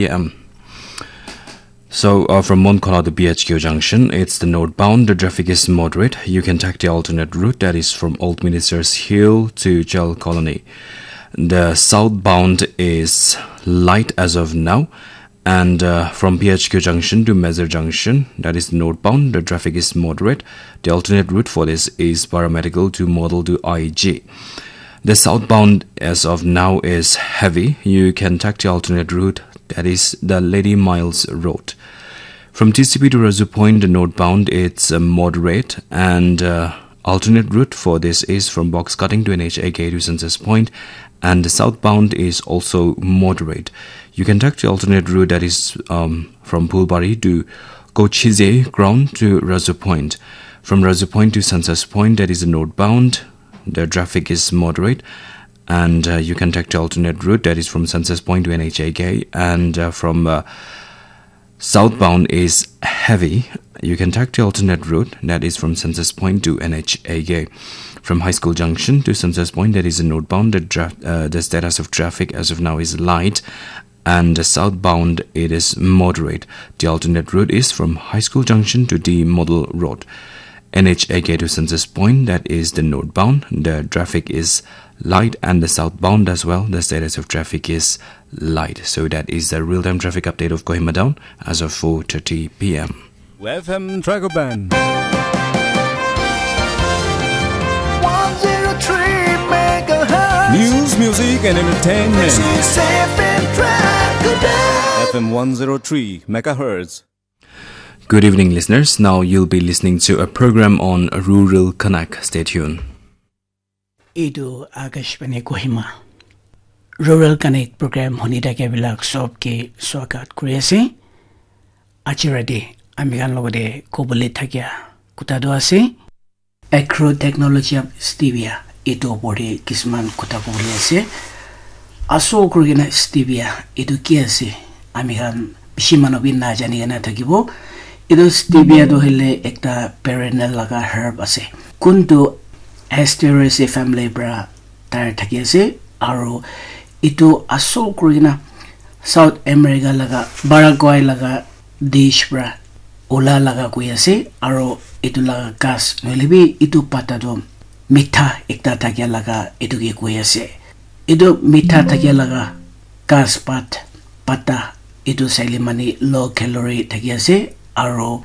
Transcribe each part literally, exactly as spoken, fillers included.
p.m. So, uh, from Monkola to P H Q junction, it's the northbound. The traffic is moderate. You can take the alternate route, that is from Old Ministers Hill to Jail Colony. The southbound is light as of now, and uh, from P H Q junction to Mezar junction, that is northbound, the traffic is moderate. The alternate route for this is Paramedical to Model to I G. The southbound as of now is heavy. You can take the alternate route, that is the Lady Miles Road. From T C P to Razu Point, the northbound, it's uh, moderate, and uh, alternate route for this is from Box Cutting to N H A K to Census Point, and the southbound is also moderate. You can take the alternate route, that is um, from Phulbari to Kochize ground to Razu Point. From Razu Point to Census Point, that is the northbound. The traffic is moderate, and uh, you can take the alternate route, that is from Census Point to N H A K, and uh, from uh, southbound is heavy. You can take the alternate route, that is from Census Point to N H A K. From High School Junction to Census Point, that is a northbound. The, dra- uh, the status of traffic as of now is light, and southbound it is moderate. The alternate route is from High School Junction to the Model Road. N H A K to Census Point, that is the northbound. The traffic is light, and the southbound as well. The status of traffic is light. So that is the real-time traffic update of Kohima Town as of four thirty p.m. F M Dragon Band. one zero three megahertz. News, music, and entertainment. This is F M Dragon Band. F M one zero three megahertz. Good evening, listeners. Now you'll be listening to a program on Rural Connect. Stay tuned. Etu Akashvani Kohima. Rural Connect program huni thake bilak sob ke swagat kuri ase. Aji rati ami khan logote kobole thakia kuta tu ase. Agro technology of stevia, etu opor te kisman kotha kobole ase. Asol kuri kena stevia etu ki ase? Ami khan bishi manu bi najani kena thakibo. Etu stevia tu hoile ekta perennial laga herb ase. Kuntu Asteraceae family para tai thaki ase. Aro etu asol kuri kena South America laga Paraguay laga dish para ola laga koi ase, aro etu laga ghas nohoile bi etu pata toh mitha ekta thakia laga etu ke koi ase. Etu mitha thakia laga ghas pat pata etu saile mane low calorie thaki ase, aro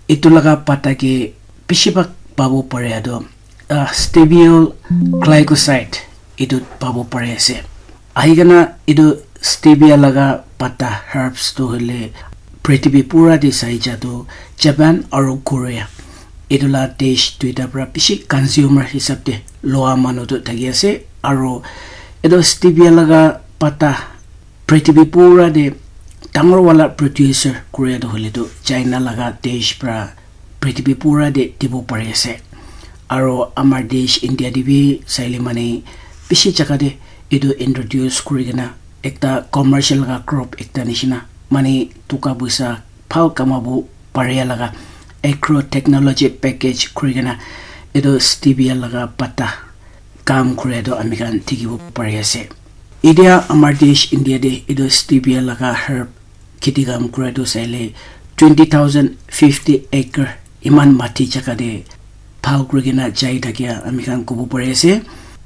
etu laga pata ke bishi bhag pabo pare toh uh, steviol glycoside etu pabo pare ase. Ahi kena etu stevia laga pata herbs tu hoile prithibi pura te sai ja tu Japan aru Korea etu la desh duita para bishi consumer hisab te loa manu tu thaki ase. Aru etu stevia laga pata prithibi pura te dangor wala producer Korea tu hoile tu China laga desh para prithibi pura te dibo pari ase. Aro amar desh India te bi saile mane bishi jaga te etu introduce kuri kena ekta commercial laga crop ekta nishina mane toka poisa bhal kamabo paria laga agro technology package kuri kena etu stevia laga pata kam kuri tu ami khan dikhibo pari ase. Etia amar desh India te etu stevia laga herb kheti kam kura tu saile twenty thousand fifty acre iman mati jaga te bhal kuri kena jai thakia ami khan kobo pari ase.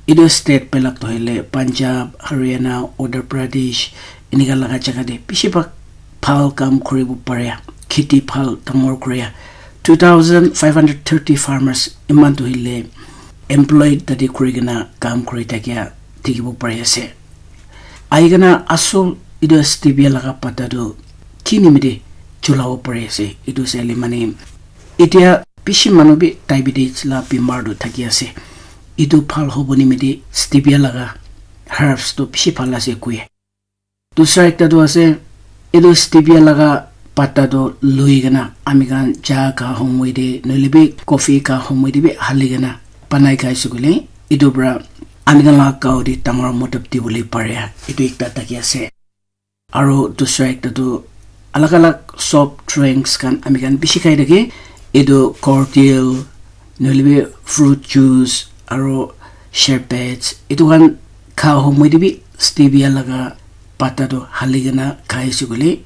Etu state belak tu hoile Punjab, Haryana, Uttar Pradesh enika laga jaga te bishi bhag bhal kam kuribo paria, kheti bhal dangor kuria two thousand five hundred thirty farmers iman tu hoile employed tate kuri kena kam kuri thakia dikhibo pari ase. Ahi kena asol etu stevia laga pata tu ki nimite chulabo pari ase etu saile mane etia bishi manu bi diabetes la bimar tu thaki ase. Etu bhal hobo nimite stevia laga herbs tu bishi bhal ase koi. Dusra ekta tu ase etu stevia laga pata tu lui kena ami khan cha kha homoi te nohoile bi coffee kha homoi te bi hali kena banai khai ase koile etu para ami khan laga gao te dangor motab dibole pare etu ekta thaki ase. Aro dusra ekta tu alag alag soft drinks khan ami khan bishi khai thake. Etu cordial nohoile bi fruit juice aro sherbets etu khan kha homoi te bi stevia laga pata tu hali kena khai ase koile,